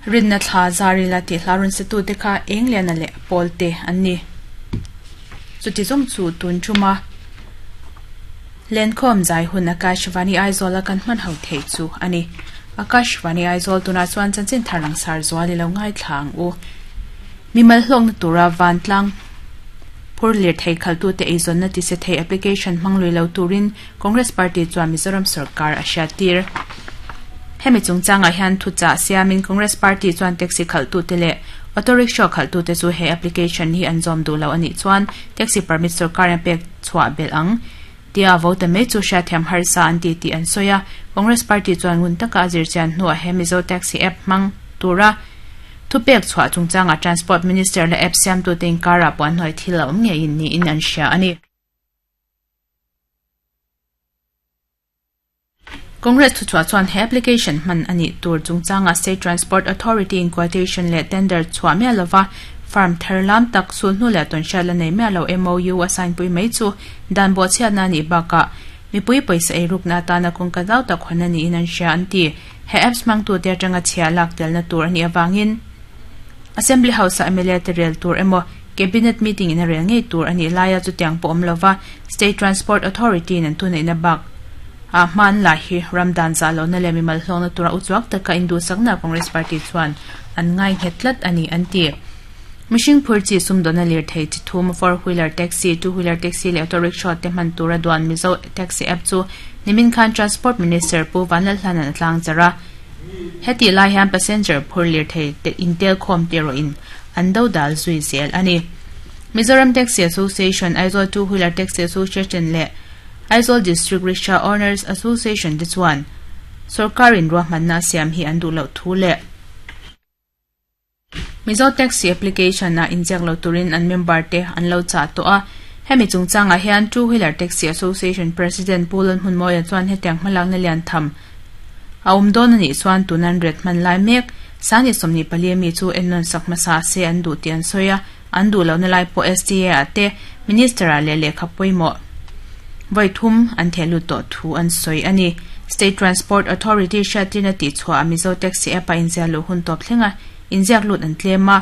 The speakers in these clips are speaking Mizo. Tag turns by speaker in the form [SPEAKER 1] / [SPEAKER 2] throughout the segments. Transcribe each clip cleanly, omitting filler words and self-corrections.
[SPEAKER 1] Rinna thla zarila tih hla rawn satute kha Engliana leh Pawlte an ni. Chuti zawng chu tun tuma Lenkhawm zai hun Akashvani Aizawl a kan hman ho theih chu a ni. Akashvani Aizawl tunah chuan chanchin thar langsar zual i lo ngaithla ang u. Mimal hlawkna tura vantlang phur lirthei khaltute eizawnna tise thei application hmang lui lo turin Congress Party chuan Mizoram sorkar a hriattir. Hemi chungchangah hian thuchah siamin Congress Party chuan taxi khalhtute leh auto rickshaw khalhtute chu he application hi an zawm duh lo a nih chuan taxi permit sorkarin a pek chhuah belh ang tia vote mai chu hriatthiam harsa an ti tih an sawi a. Congress Party chuan ngun taka a zirchian hnuah he Mizo Taxi app hmang tura thupek chhuah chungchangah Transport Minister leh app siamtute inkarah puanhnuai thil a awm ngeiin niin an hria a ni. Congress thuchhuah chuan he application hman a nih tur chungchangah State Transport Authority in quotation leh tender chhuah miah lova firm thar lam tak sulhnu leh tawnhriat la nei miah lo MOU a sign pui mai chu dan bawhchhiatna a nih bakah mipui pawisa eirukna atana kawngka zau tak hawn a niin an hria an ti. He apps hmangtute atanga chhia lak telna tur a nih avangin Assembly House-ah mla te rel tur emaw Cabinet meeting in a rel ngei tur a nih laia chutiang pawh awm lova State Transport Authority in an thuneihna bak ah hma an la hi ram dan zah lohna leh mimal hlawkna tura uchuak taka induhsakna Congress Party chuan an ngai nghet tlat a ni an ti. Mihring phur chi sumdawnna lirthei chi thum four wheeler taxi, two wheeler taxi leh auto rickshaw te hman tura duan Mizo Taxi App chu nimin khan Transport Minister Pu Vanlalhlanan a tlang char a. Hetih lai hian passenger phur lirthei te intelkhawm te erawhin an do dal zui zel a ni. Mizoram Taxi Association, Aizawl Two Wheeler Taxi Association leh Aizawl District Rickshaw Owners Association te chuan sorkarin ruahmanna a siam hi an duh loh thu leh Mizo Taxi Application ah inziak lo turin an member te an lo chah tawh a. Hemi chungchangah hian Two Wheeler Taxi Association President Pu Lalhmunmawia chuan hetiang hmalakna lian tham a awm dawn a nih chuan tun an ret hman lai mek Sangni 24 mi chu ennawn sak hmasa se an duh tih an sawi a, an duh lohna lai pawh STA ah te Minister ah leh lehkha pawimawh vawi thum an theh lut tawh thu an sawi a ni. State Transport Authority hriattirna tihchhuah a Mizo Taxi App a inziah luh hun tawp thleng a, inziak lut an tlem a,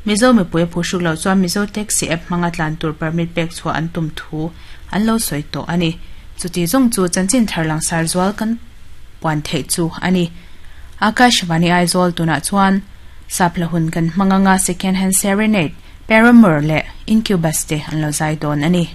[SPEAKER 1] Mizo mipui a phuhruk loh chuan Mizo Taxi App hmanga tlan tur permit pek chhuah an tum thu an lo sawi tawh a ni. Chuti zawng chu chanchin thar langsar zual kan puan theih chu a ni. Akashvani Aizawl tunah chuan Sapla hun kan hmang anga Second Hand Serenade, Paramour leh Incubus te an lo zai dawn a ni.